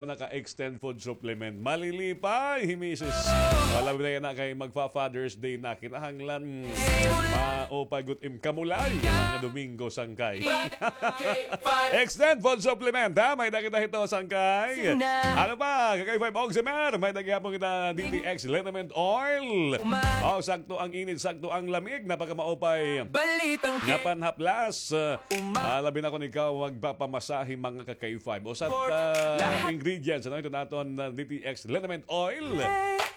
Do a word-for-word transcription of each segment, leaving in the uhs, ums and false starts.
naka-extend food supplement. Malilipay hi misis. Wala na yana kay magfa-Father's Day na. Kinahanglan maupay gud im kamulay nga Domingo, sangkay. Extend food supplement, ha? May-ada kita hito, sangkay. Ano pa? Ka-K five Oximer, may-ada gihapon kita D T X liniment oil. Oh, sakto ang init, sakto ang lamig, napakamaupay. Nga panhaplas, ah, labi na kon ikaw magpapamasahe, mga ka-K five. Usa ka ingredients, ano, iton aton, ah, D T X liniment oil.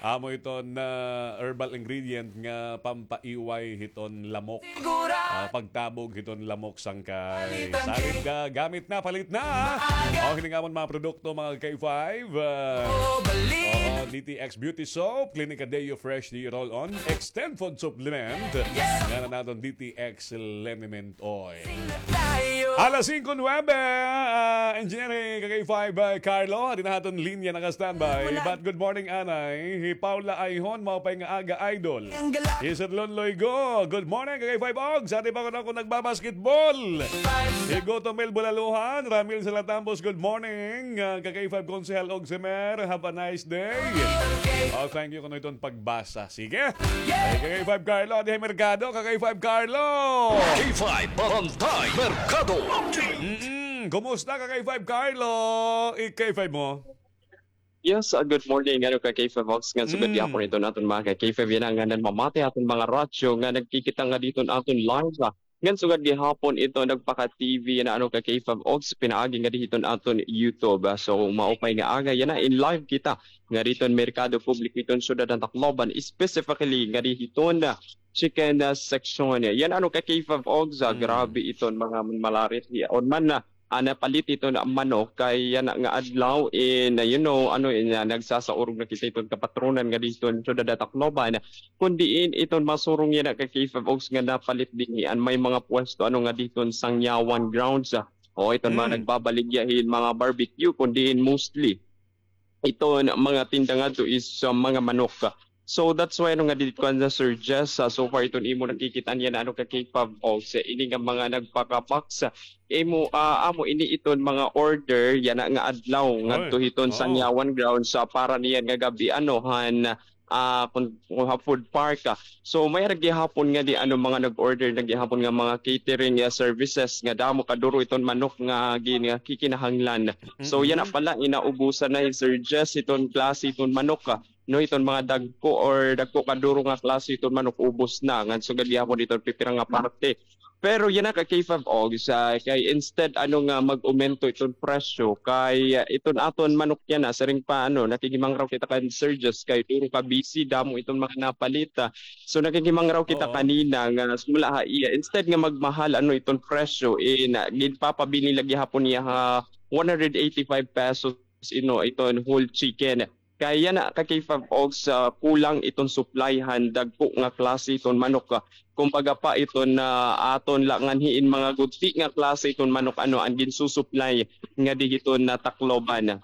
Amo iton, ah, herbal ingredient nga pampaiway hiton lamok. Ah, pagtabog hiton lamok, sangkay. Salit ka, gamit na, palit na. O, hini nga amon mga produkto, mga ka-K five. Ah, oo, D T X Beauty Soap, Clinica Deo Fresh Deo Roll On, Extend Food Supplement, nga na naton D T X Liniment Oil. Alas singko nuwebe, ah, Engineer, ka-K five, ah, Carlo, adi na aton linya naka-standby. But good morning, anay. Hi Paula Ayhon, maupay nga aga, idol. Hi Sir Lon Loigo, good morning, ka-K five Ogs. Adi pa ko na ako nagbabasketball. Hi Goto Mel Bulaluhan, Ramil Salatambos, good morning. Ah, ka-K five Konsehal Oximer, have a nice day. Oh, thank you kuno iton pagbasa. Sige. Ay, ka-K five Carlo, adi ha merkado, ka-K five Carlo. K five Barangay Merkado. Mm-mm. Kumusta, ka-K five Carlo? I-K five mo. Yes, ah, good morning, ano, ka-K five Ogs, nga sugad gihapon iton aton mga ka-K five yana nga namamati aton mga radyo nga nagkikita ngadi hiton aton live, ah, ngan sugad gihapon ito nagpaka-T V yana, ano, ka-K five Ogs, pinaagi ngadi hiton aton YouTube. Ah, so, maupay nga aga yana, in live kita ngadi hiton Merkado Publiko hiton syudad han Tacloban, specifically ngadi hiton, ah, chicken, ah, section. Yana, ano, ka-K five Ogs, ah, grabe iton mga malarit hiyaon man na ah, napalit iton manok kay yana nga adlaw in, ah, you know, ano, in, ah, nagsasaurog na kita iton kapatronan ngadi hiton syudad han Tacloban. Kun diin iton masurong yana, ka-K five Ogs, nga napalit dinhi an may mga pwesto, ano, ngadi hiton Sangyawan grounds, ah. O, iton mga nagbabaligya hin mga barbecue, kun diin mostly iton mga tinda ngadto is, ah, mga manok. So that's why, ano, ngadi kuan, Sir Jess, ah, so far iton imo nakikita yana, ano, ka-K five Ogs, ini nga mga nagpaka-box, ah, imo, ah, amo ini iton mga order yana nga adlaw ngadto hiton Sangyawan grounds, ah, para niyan nga gab-i, ano, han, ah, kun, kun ha food park, ah. So may-ada gihapon ngadi, ano, mga nag-order na gihapon nga mga catering, ah, services nga damo kaduro iton manok nga gin-, nga kikinahanglan. So yana pala, inaubusan na hi Sir Jess hiton klase hiton manok, ah. No, iton mga dagko or dagko kaduro nga klase iton manok, ubos na. Ngan sugad gihapon iton pipira nga parte. Pero yana, ka-K five Ogs, kay instead, ano, nga mag-umento iton presyo, kay, ah, iton aton manok yana, siring pa, ano, nakighimangraw kita kan Sir Jess kay duro ka busy, damo iton mga napalit, ah. So nakighimangraw kita kanina nga sumala ha iya, instead nga magmahal, ano, iton presyo, eh, na, ginpapabilin la gihapon niya ha one hundred eighty-five pesos, ino, iton whole chicken. Kay yana, ka-K five Ogs, kulang iton supply han dagko nga klase iton manok, ah. Kumbaga pa, iton, ah, aton la nganhi in mga gudti nga klase iton manok, ano, an ginsusupply ngadi hiton, ah, Tacloban.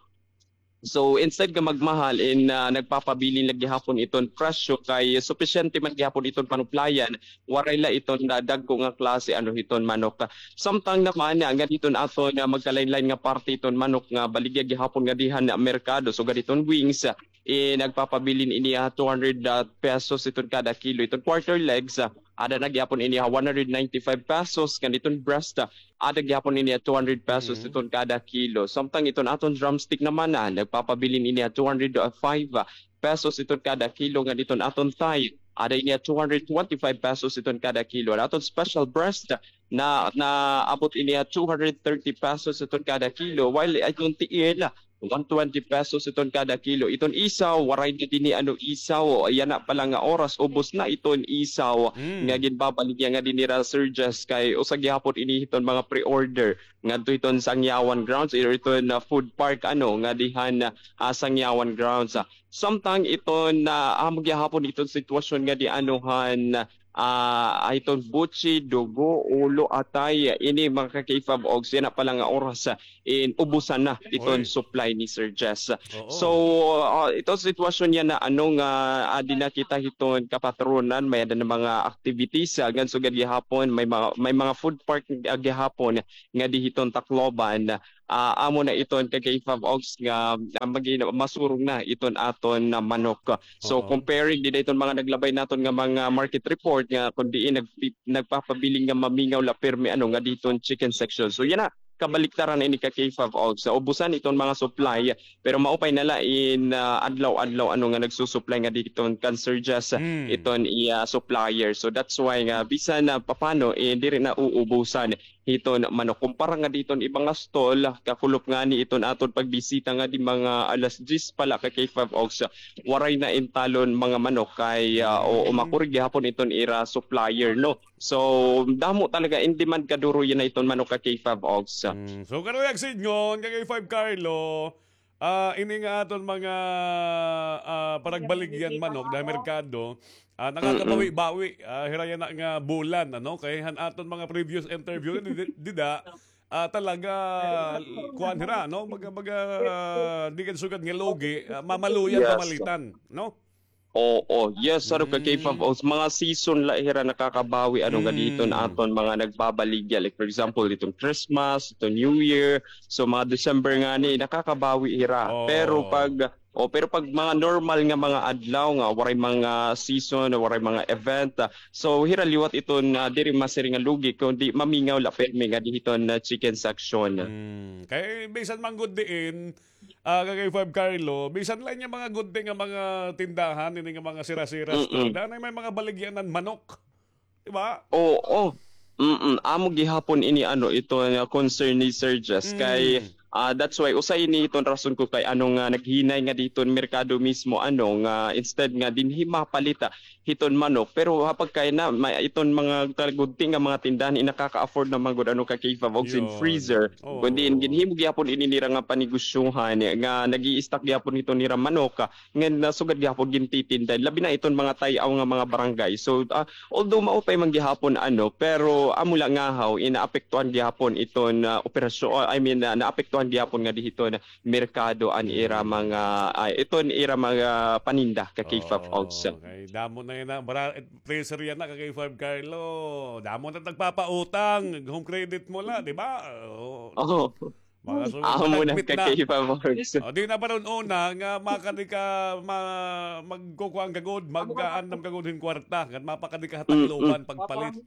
So instead nga magmahal in, ah, nagpapabilin la gihapon iton presyo kay supisyente man gihapon iton panuplayan, waray la iton, ah, dagko nga klase, ano, hiton manok. Samtang naman, ah, ngadi hiton aton, ah, magkalain-lain nga parte iton manok nga baligya gihapon ngadi han merkado, sugad hiton wings, eh, nagpapabilin ini ha two hundred, ah, pesos iton kada kilo. Iton quarter legs, ah, ada na gihapon ini ha one hundred ninety-five pesos, ngan iton breast, ah, ada gihapon ini ha two hundred pesos iton kada kilo. Samtang iton aton drumstick naman, ah, nagpapabilin ini ha two hundred five, ah, pesos iton kada kilo, ngan iton aton thigh, ada ini ha two hundred twenty-five pesos iton kada kilo. An aton special breast, na, naabot ini ha two hundred thirty pesos iton kada kilo, while iton tiil, one twenty pesos iton kada kilo. Iton isaw, waray na dinhi, ano, isaw. Yana pa la nga oras, ubos na iton isaw nga ginbabaligya ngadi nira Sir Jess, kay usa gihapon ini hiton mga pre-order ngadto hiton Sangyawan grounds, or iton, ah, food park, ano, ngadi han, ah, Sangyawan grounds, ah. Samtang iton, ah, amo gihapon iton sitwasyon ngadi, ano, han, ah, iton butsi, dugo, ulo, atay, ini, mga ka-K five Ogs, yana pa la nga oras, ah, in ubusan na iton supply ni Sir Jess. So, ah, iton sitwasyon yana, ano, nga, ah, adi na kita hiton kapatronan, may-ada na mga activities, ah, ngan sugad gihapon, may mga, may mga food park, ah, gihapon ngadi hiton Tacloban, ah, amo na iton ka K five Ogs nga, ah, magi-, masurong na iton aton na manok. So, comparing dida iton mga naglabay naton nga mga market report nga kun diin nagpi-, nagpapabilin nga mamingaw la pirmi ano nga diton chicken section. So, yana, kabaliktaran ini ka K five Ogs. So, ubusan iton mga supply, pero maupay na la in, ah, adlaw-adlaw ano nga nagsusupply nga diton kan Sir Jess, iton iya supplier. So, that's why nga bisan na papano, eh, diri na uubusan hiton manok. Kumpara nga diton iba nga stall, kakulop ngani iton aton pagbisita nga di mga alas diyes pa la ka K five Ogs, waray na intalon mga manok kay, ah, o, o makuri gihapon iton ira supplier, no? So, damo talaga in demand kaduro yana iton manok ka K five Ogs. Mm, so, karuyag sidngon ka K five Carlo, ah, ini nga aton mga, ah, panagbaligyan manok da merkado, ah, nakakabawi-bawi, ah, hira yana nga bulan, ano? Kay han aton mga previous interview, di-, di-, dida, ah, talaga, kuan hira, no? Baga, baga, ah, di kan sugad nga lugi, ah, mamaluyan, mamalitan, no? Oo, yes, ano ka K five Ogs, mga season la hira nakakabawi, ano nga diton aton mga nagbabaligya. Like, for example, diton Christmas, diton New Year, so, mga December ngani, nakakabawi hira. Pero pag, o, pero pag mga normal nga mga adlaw nga, waray mga season, waray mga event, ah, so, hira liwat iton, ah, diri masiring nga lugi, kundi mamingaw la pirmi nga dihiton na chicken section. Mm. Kay bisan man gud diin, ah, ka K five Carlo, bisan la ini mga gudti nga mga tindahan, ini nga mga sira-sira store, danay may mga baligyanan manok. Di ba? Oo. Mm-mm. Amo gihapon ini, ano, ito nga concern ni Sir Jess. Kay, ah, that's why, usa ini iton rason ko kay ano nga naghinay nga diton merkado mismo, ano, nga instead nga dinhi mapalita hiton manok. Pero hapag kay na, may, iton mga talagudti nga mga tindahan, inakaka-afford na man gud, ano, ka K five Ogs in freezer. Kundi in ginhimo gihapon ini nira nga panegosyohan, nga nag-i-stock gihapon hiton nira manok, ah, nga nasugad gihapon gintitinda, labi na iton mga tay-aw nga mga barangay. So, ah, although maupay man gihapon, ano, pero amo la ngahaw, inaapektuhan gihapon iton, ah, operasyon, ah, I mean, ah, naapektuhan gihapon nga dihiton merkado an ira mga, ah, iton ira mga paninda ka K five Ogs. Okay, damo na yana. Bara-, freezer yana ka K five Carlo. Damo na nagpapautang. Home credit mo la, di ba? Oo. Mga sugad, amo na ka K five Ogs. O, di na ba ron una nga makadi ka ma-, magkukuan ka gud, mag-aandam ka gud hin kwarta, ngan mapakadi ka ha Tacloban pagpalit.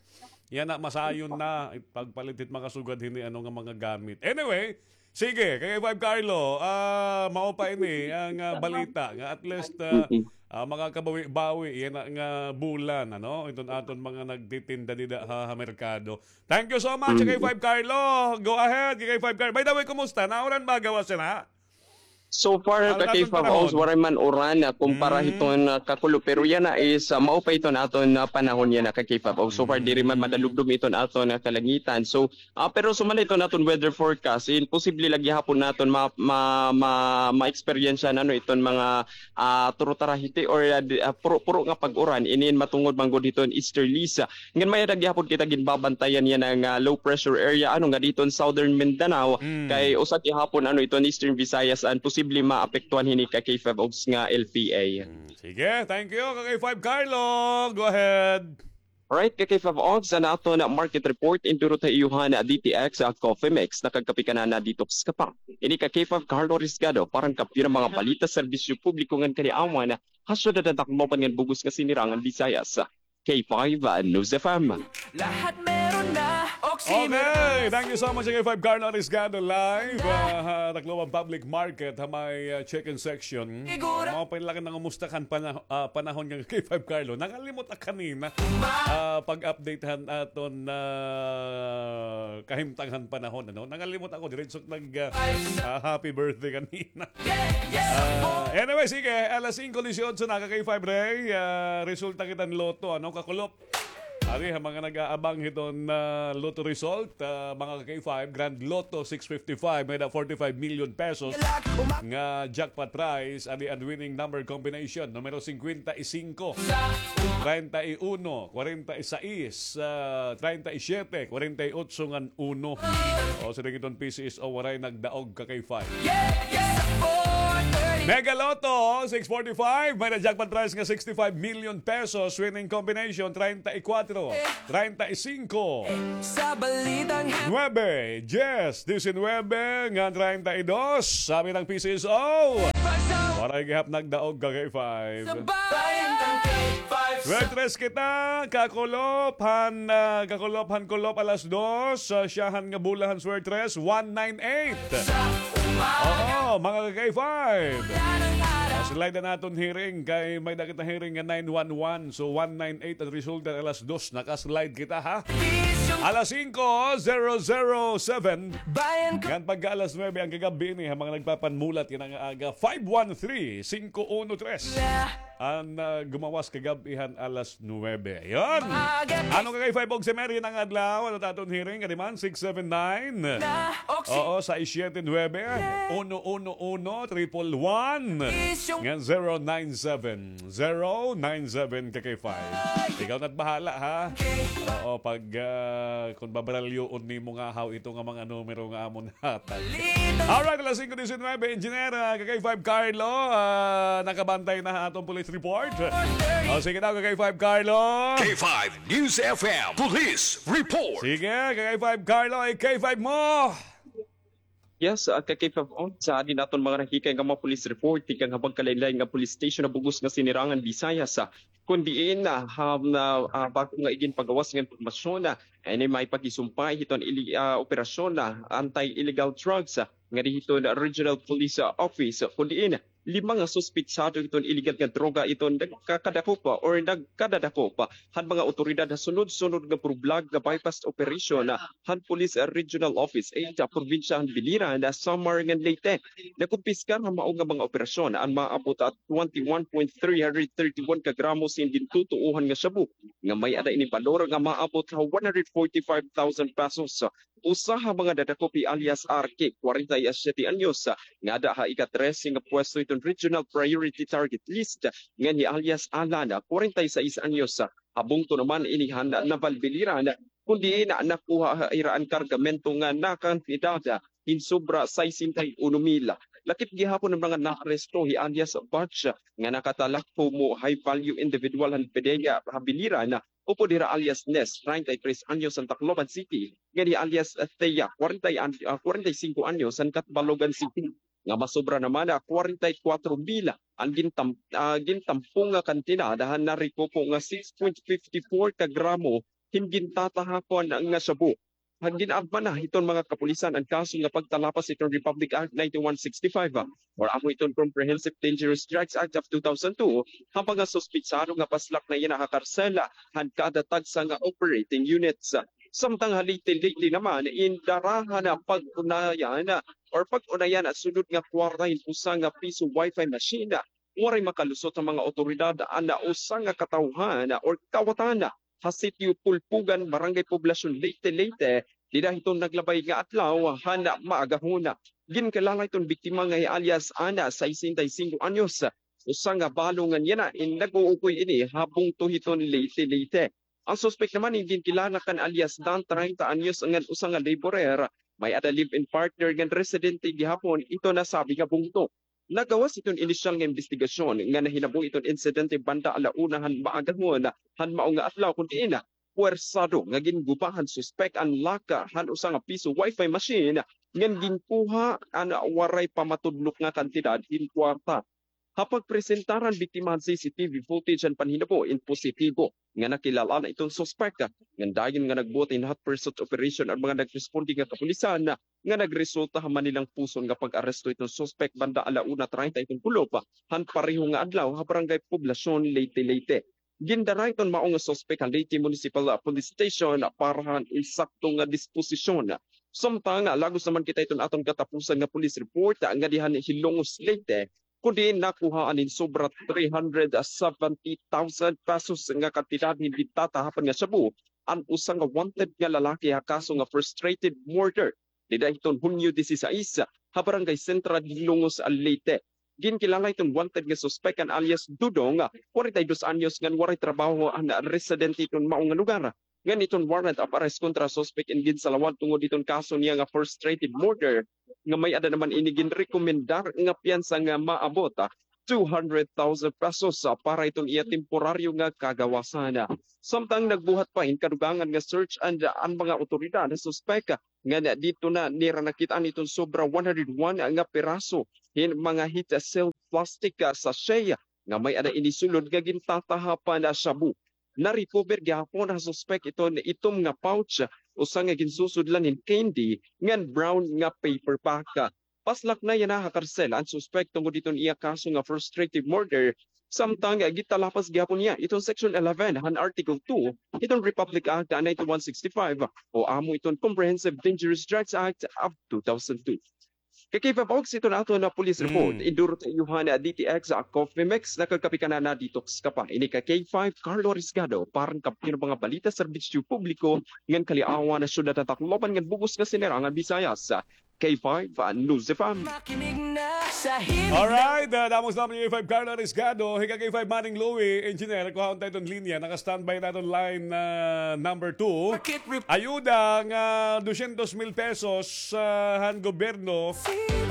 Yana, masayon na pagpalit hit mga sugad hini, ano, nga mga gamit. Anyway, sige, ka K five Carlo, ah, mao pa ini ang, ah, balita nga at least, ah, ah, makakabawi-bawi yana nga bulan, ano, iton aton mga nagtitinda dida ha, ha merkado. Thank you so much, K five Carlo. Go ahead, K five Carlo. By the way, kumusta? Nauran ba gawas yana? So far, ka K five Ogs, waray man uran, ah, kumpara hiton, ah, kakulop. Pero yana is, ah, mao pa iton aton, ah, panahon yana, ka K five Ogs. So far, diri man madalumdom iton aton, ah, kalangitan. So, ah, pero sumala iton aton weather forecast, in posible la gihapon naton ma-, ma-, ma-, ma-experience-an, ano, iton mga, ah, turo-tarahiti or, ah, di-, ah, puro-puro nga pag-uran, inin matungod man gud hiton easterlies, ah, Ngan may-ada gihapon kita ginbabantayan yana nga low pressure area, ano, nga diton Southern Mindanao, kay usa gihapon, ano, iton Eastern Visayas an posible maapektuhan hini ka K five Ogs nga L P A. Mm, sige, thank you, ka K five Carlo. Go ahead. Alright, ka K five Ogs, an aton market report, indurot ha iyo han D T X, ah, Coffee Mix, nakagkape ka na na detox ka pa. Ini ka K five Carlo Risgado, para han Kampiyon han mga balita, serbisyo publiko ngan kaliawan, ha syudad han Tacloban ngan bug-os nga Sinirangan Visayas. K five News F M. Lahat meron na, Oxy. Okay, thank you so much, K five Carlo Arriesgado, live, ah, ha Tacloban Public Market, ha may, ah, chicken section. Siguro. Mao pa la kan nangumusta kan pana-, ah, panahon nga K five Carlo. Nangalimot ak kanina, ah, pag-update han aton, ah, kahimtang han panahon, ano? Nangalimot ako, diretso nag, ah, ah, happy birthday kanina. Ah, anyway, sige, alas singko disiotso na, ka K five Ray. Ah, resulta kita han Lotto, ano, kakulop. Ari, ha mga nag-aabang hiton, ah, Lotto result, ah, mga ka K five, Grand Lotto six fifty-five, may-ada forty-five million pesos nga jackpot prize, ari an winning number combination, numero singkwenta y singko, treinta y uno, kwarenta y sais, ah, treinta y siyete, kwarenta y otso ngan uno. O, siring iton P C S O, waray nagdaog ka K five. Yeah, yeah. Sa four thirty Mega Lotto six forty-five, may na-jackpot prize nga sixty-five million pesos, winning combination treinta y cuatro, treinta y cinco, Sa balitang nuebe, diyes, disinwebe, ngan treinta y dos. Sabi ng P C S O, waray gihap nagdaog ka K five. Sa bayan ng K five. Well, tres kita, kakulop han, ah, kakulop han kulop alas dos, ah, siyahan nga bulahan swertres, one nine eight. Oo, mga ka-K five. Ah, slide na naton hearing kay may dakit na hearing nga nine one one. So, one nine eight ang resulta alas dos. Naka-slide kita, ha? Alas singko, zero zero seven. Ngan pagka alas nuebe ang kagab-i ini, ha, mga nagpapanmulat, yan ang aga, five one three, singko uno tres. An, ah, gumawas kagab-i han alas nuebe. Ayun. Ano ka kay five og si Mary ng adlaw? Ano taton hearing? Kadi man, six seven nine. Oo, sais siyete nuebe, uno uno uno, triple one. Ngan zero nine seven, zero nine seven ka kay five. Ikaw na't bahala, ha? Oo, pag, ah, kung babaralyoon nimo nga haw ito nga mga numero nga amon Alright, alas singko disinwebe, Engineer, ah, ka K five Carlo, ah, nakabantay na ha aton police report. O, sige daw, ka K five Carlo. K five News F M Police Report. Sige, ka K five Carlo, ay K five mo. Yes, ah, ka K five on sa din aton mga nahikay nga mga police report, tikang ha pagkalain-lain nga police station ha bug-os nga Sinirangan Visayas, ah, kun diin, ah, ha, na, ah, bag-o nga iginpagawas nga impormasyon, ah, Ini may pagkisumpay hiton ili-, ah, operasyon na anti-illegal drugs, ah, nga di hiton Regional Police, ah, Office, kun diin lima nga suspetsado hiton illegal nga droga iton nagkakadakop, ah, or nagkadadakop, ah, han mga awtoridad ha sunod-sunod nga burublag nga buy-bust operation, ah, han Police, ah, Regional Office eight, ah, probinsya han Biliran, ah, Samar ngan Leyte. Nakumpiskar han mao nga mga operasyon an maabot ha twenty-one point three hundred thirty-one ka gramo sin gintutuohan nga shabu nga may-ada ini balor nga maabot ha one hundred forty-five thousand pesos. Usa ha mga nadakop hi alias Arky, kwarenta y siyete anyos, nga ada ha ika-trese nga pwesto hiton Regional Priority Target List, ngan hi alias Alan, kwarenta y sais anyos. Ha bungto naman ini han Naval Biliran, kun diin nakuha ha ira an kargamento nga nakantidad hin sobra sesenta y uno mil. Lakip gihapon an mga naaresto hi alias Batch nga nakatalak komo high value individual han PDEA ha Biliran, upod hira alias Nes, treinta y tres anyos, han Tacloban City, ngan hi alias Thea, kwarenta y, ah, kwarenta y singko anyos, han Catbalogan City, nga masobra naman ha kwarenta y kwatro mil an gintam-, ah, gintampo nga kantidad han narekupo nga six point fifty four ka gramo hin gintatahapon nga shabu. Gin-agma na hiton mga kapulisan an kaso nga pagtalapas hiton Republic Act ninety-one sixty-five, ah, or amo hiton Comprehensive Dangerous Drugs Act of two thousand two, ha mga suspetsado nga paslak na yana ha karsel han kada tagsa nga operating units. Samtang ha Leyte, Leyte naman, indara han pag-unayan, ah, or pag-unayan, ah, sunod nga kwarta hin usa nga piso wifi machine, ah, waray makalusot ha mga awtoridad an usa nga katawhan, ah, or kawatan, ah, ha Sitio Pulpugan, Barangay Poblacion, Leyte, Leyte, dida hiton naglabay nga adlaw han maagahon. Ginkilala hiton biktima nga hi alias Ana, sesenta y cinco anyos, usa nga balo ngan yana in nag-uukoy ini ha bungto hiton Leyte, Leyte. An suspek naman in ginkilala kan alias Dan, treinta anyos, ngan usa nga laborer, may-ada live-in partner ngan residente gihapon hiton nasabi nga bungto. Nagawas hiton inisyal nga imbestigasyon nga nahinabo hiton insidente banda ala una han maagahon han mao nga adlaw, kun diin puwersado nga ginguba han suspek an laka han usa nga piso wifi machine ngan ginkuha an waray pa matudlok nga kantidad hin kwarta. Ha pagpresentar han biktima han C C T V footage han panhinabo in positibo nga nakilala na iton suspek, ngan dayon nga nagbuhat hin hot pursuit operation an mga nagresponde nga kapulisan, nga nagresulta ha manilang puson nga pag-aresto hiton suspek banda ala una treinta hiton kulop han pareho nga adlaw ha Barangay Poblacion, Leyte, Leyte. Gindara hiton mao nga suspek han Leyte Municipal, ah, Police Station para han insakto nga disposisyon. Samtang, ah, lagos naman kita hiton aton katapusan nga police report, ah, ngadi han Hilongos, Leyte, kun diin nakuhaan hin sobra three hundred seventy thousand pesos nga kantidad hin gintatahapon nga shabu an usa nga wanted nga lalaki ha kaso nga frustrated murder dida hiton Hunyo disisais ha Barangay Central, Hilongos, Leyte. Ginkilala hiton wanted nga suspek an alias Dudong, kwarenta y dos anyos, ngan waray trabaho, an residente hiton mao nga lugar. ngan iton warrant of arrest kontra suspect in ginsalawad tungod iton kaso niya nga frustrated murder, nga may-ada naman ini ginrekomendar nga piyansa nga maabot, ah, two hundred thousand pesos, ah, para iton iya temporaryo nga kagawasan. Samtang nagbuhat pa hin kadugangan nga search an mga awtoridad ha suspek, ngan didto na nira nakit-an iton sobra one hundred one nga piraso hin mga heat-sealed plastic, ah, sachet nga may-ada ini sulod nga gintatahapan na shabu. Na-recover gihapon ha suspek iton itom nga pouch, usa nga ginsusudlan hin candy, ngan brown nga paper bag. Paslak na yana ha karsel an suspek tungod hiton iya kaso nga frustrated murder, samtang gitalapas gihapon niya iton Section eleven han Article two hiton Republic Act nineteen one sixty-five o amo iton Comprehensive Dangerous Drugs Act of two thousand two. Kay K five Ox, iton aton nga police report. Mm. Induro ta iyo han D T X, ah, Coffee Mix, nakagkape ka na, na-detox ka pa. Ini ka K five, Carlo Risgado, para han kampiyon nga mga balita, serbisyo publiko, ngan kaliawan ha syudad han Tacloban ngan bug-os nga Sinirangan Visayas. K five, ah, News F M. Makinig na sa himig na. Alright, ah, damo salamat K five, Carlo Risgado, hika K five, Manning Louie, engineer, kuhaon ta iton linya, naka-standby na iton line, ah, number two. Ayuda nga dosyentos mil pesos, ah, han gobyerno.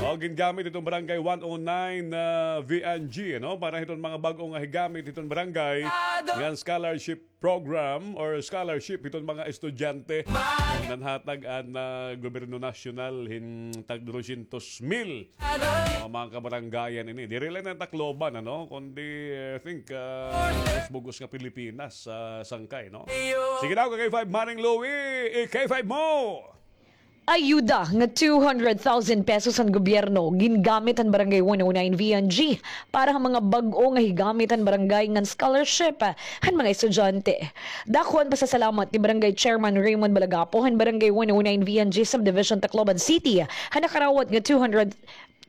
O, gingamit iton barangay one oh nine, ah, V N G, no? Para hiton mga bag-o nga higamit hiton barangay. Ngan scholarship program or scholarship hiton mga estudyante. Nanhatag an, ah, gobyerno nasyonal hin tag dosyentos mil. Mga, mga kabarangayan ini. Diri la ini Tacloban, ano? Kundi, I think, ah, mas bug-os nga Pilipinas sa sangkay, no? Sige daw, K five Manning Louie, eh, K five mo! Ayuda nga two hundred thousand pesos han gobyerno gingamit han Barangay one oh nine V N G para ha mga bag-o nga higamit han barangay ngan scholarship han mga estudyante. Dako an pasasalamat ni Barangay Chairman Raymond Balagapo han Barangay one oh nine V N G Subdivision, Tacloban City, ha nakarawat nga two hundred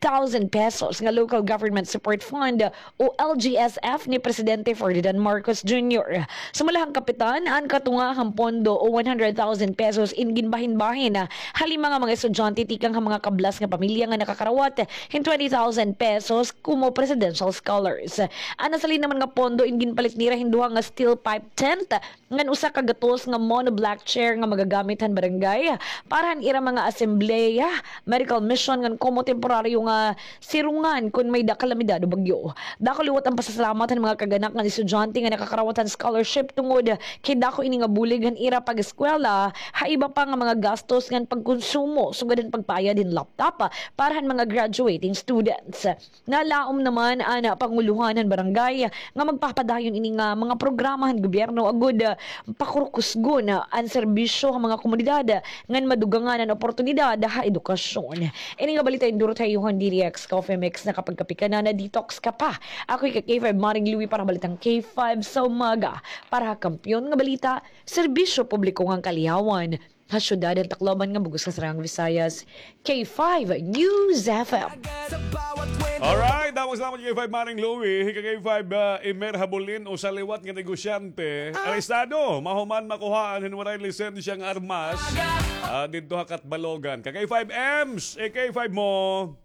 thousand pesos nga Local Government Support Fund o L G S F ni Presidente Ferdinand Marcos Junior. Sumala han kapitan, an katunga han pondo o one hundred thousand pesos in ginbahin-bahin ha lima nga mga estudyante tikang ha mga kablas nga pamilya nga nakakarawat hin twenty thousand pesos komo presidential scholars. An nasalin naman nga pondo in ginpalit nira hin duha nga steel pipe tent ngan usa ka gatos nga monoblock chair nga magagamit han barangay para han ira mga asembleya, medical mission, ngan komo temporaryo nga sirungan kon may-ada kalamidad o bagyo. Dako liwat an pasasalamat han mga kag-anak ngan estudyante nga nakakarawat han scholarship tungod kay dako ini nga bulig han ira pag-eskwela, ha iba pa nga mga gastos ngan pagkonsumo, sugad han pagpayad hin laptop para han mga graduating students. Nalaom naman an pangulohan han barangay nga magpapadayon ini nga mga programa han gobyerno agod, ah, pakurkusgon an serbisyo ha mga komunidad ngan madugangan an oportunidad ha edukasyon. Ini nga balita induro ha iyo han D T X Coffee Mix, nakapagkape ka na, na-detox ka pa. Ako hika K five Manning Louie para ha balitang K five sa umaga. Para ha kampiyon nga balita, serbisyo publiko ngan kaliawan, ha syudad han Tacloban ngan bug-os nga Sinirangan Visayas, K five News F M. Alright, damo salamat K five Manning Louie, hika K five, ah, Emer Habulin, usa liwat nga negosyante, arestado, mahuman makuhaan hin waray lisensya nga armas, ah, didto ha Catbalogan. Ka K five Ems, eh, K five mo.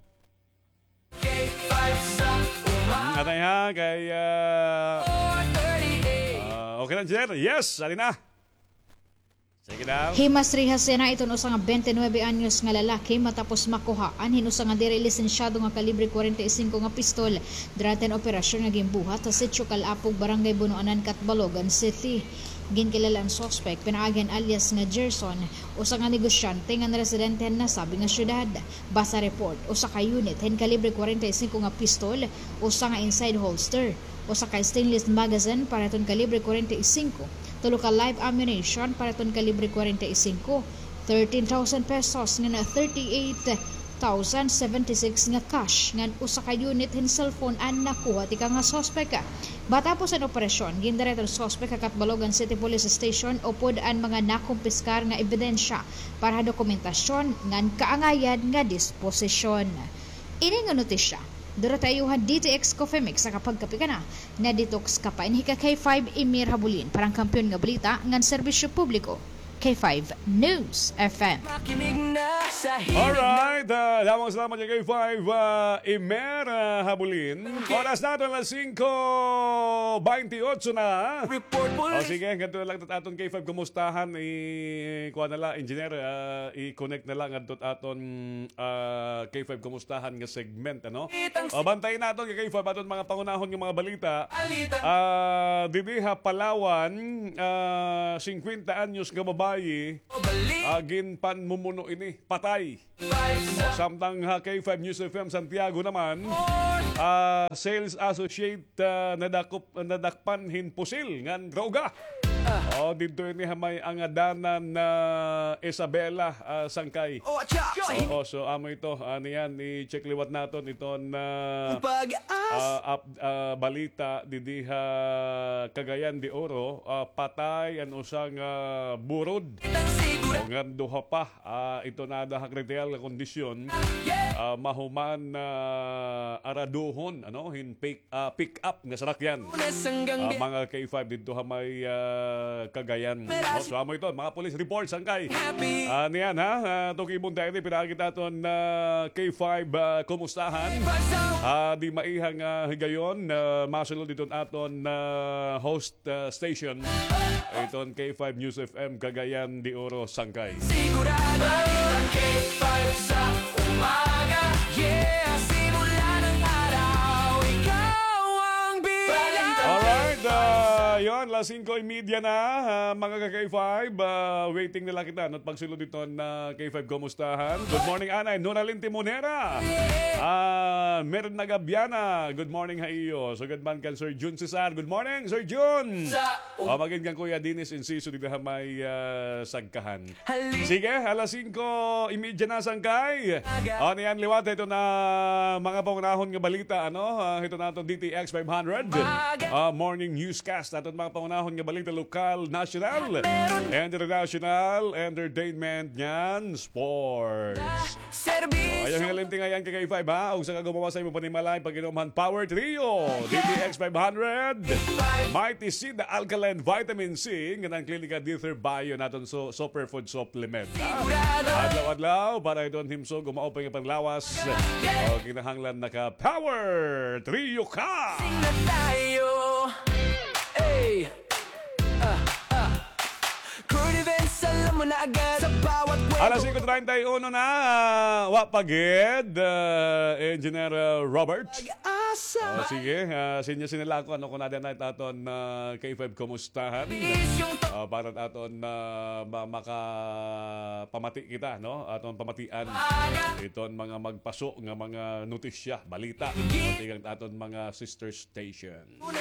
Anay ha, kay, ah, ah, okay lang, sir? Yes, ali na. Sige daw. Himas rehas yana iton usa nga twenty-nine anyos nga lalaki matapos makuhaan hin usa nga diri lisensyado nga kalibre kwarenta y singko nga pistol durante an operasyon nga ginbuhat sa Sitio Calapog, Barangay Bunoanan, Catbalogan City. Ginkilala an suspek pinaagi han alias nga Gerson, usa nga negosyante ngan residente han nasabi nga syudad. Base ha report, usa ka unit hin kalibre kwarenta y singko nga pistol, usa nga inside holster, usa ka stainless magazine para hiton kalibre kwarenta y singko, tulo ka live ammunition para hiton kalibre kwarenta y singko, thirteen thousand pesos ngan thirty-eight thousand seventy-six nga cash ngan usa ka unit hin cellphone an nakuha tikang ha suspek. Matapos an operasyon, gindara hiton suspek ha Catbalogan City Police Station upod an mga nakumpiskar nga ebidensya para ha dokumentasyon ngan kaangayan nga disposisyon. Ini nga notisya, duro ha iyo han D T X Coffee Mix, nakapagkape ka na, na-detox ka pa. Ini hika K five Emer Habulin para han kampiyon nga balita ngan serbisyo publiko. K five News F M. Makinig na sa hilig na. Alright, ah, damo nga salamat kay K five, ah, Imer, ah, Habulin. Oras naton alas singko baynte otso na. Report, o, sige, ngadto na la it aton K five kumustahan, i-, kuan na la, engineer, ah, i-connect na la ngadto it aton, ah, K five kumustahan nga segment, ano? O, bantayi naton kay K five aton mga pangunahon nga mga balita. Ah, didi ha Palawan, ah, singkwenta anyos nga babayi, ah, ginpanmumuno ini, patay. O, samtang ha K five News F M Santiago naman, ah, sales associate, ah, nadakop, nadakpan hin pusil ngan droga. O, didto ini ha may angadanan na Isabela, ah, Sangkay. Oo, so amo ito, ah, niyan, i-check liwat naton iton, ah, ah, ap-, ah, balita didi ha Cagayan de Oro, ah, patay an usa nga burod. O, ngan duha pa, ah, ito naada ha kritikal nga kondisyon, ah, mahuman na araduhon, ano, hin pick, ah, pick up nga sarakyan. Ah, mga K five didto ha may, ah, Cagayan. O, so amo ito, mga police reports, Sangkay. Ah, niyan, ha? Ah, tukibon tayo ini, pinaagi it aton, ah, K five, ah, kumustahan. Ah, di maihang, ah, higayon, ah, masulod iton aton, ah, host, ah, station. Iton K five News F M Cagayan de Oro, Sangkay. Sigurado ang K five sa umaga. Yeah, simula ng araw, ikaw ang bilang. Alright, ah, yon, alas singko y media na, ah, mga ka-K five, ah, waiting na la kita, ano, it pagsulod iton K five kumustahan. Good morning, Anay Noralyn Timonera. Ah, Merna Gabiana, good morning ha iyo. Sugad man kan Sir Jun Cesar. Good morning, Sir Jun. Sa O, magid kan Kuya Dennis Enciso didi ha may, ah, Sagkahan. Sige, alas singko y media na, Sangkay. O, niyan liwat, ito na mga pangunahon nga balita, ano, ah, ito na aton D T X five hundred. Ah, morning newscast, aton mga pangunahon nga balita, lokal, national, international, entertainment, ngan sports. Serbisyo. O, ayaw hinalimti nga yan kay K five, ha? Ug sa kagumawasay mo panimalay, pag-inom han Power Trio, D T X five hundred, Mighty Seed Alkaline Vitamin C, ngan an Klinika Dither Bio naton so, superfood supplement, ha? Sigurado. Adlaw-adlaw, para iton himsog, umaupay nga panglawas. O, kinahanglan naka-Power Trio ka. Sing na tayo. Hey. Ah, ah. Crew events, alam mo na agad sa bawat kwento. Alas singko treinta y uno na, ah, wa pa gid, ah, Engineer, ah, Robert. Pag-asa. Ah, sige, ah, sinya sinila ako, ano, kun ada na it aton, ah, K five kumustahan. Bisyong to- Ah, para it aton, ah, ma-, makapamati kita, no? Aton pamatian. Aga. Iton mga magpaso nga mga notisya, balita. Sige. Pati ang aton mga sister station.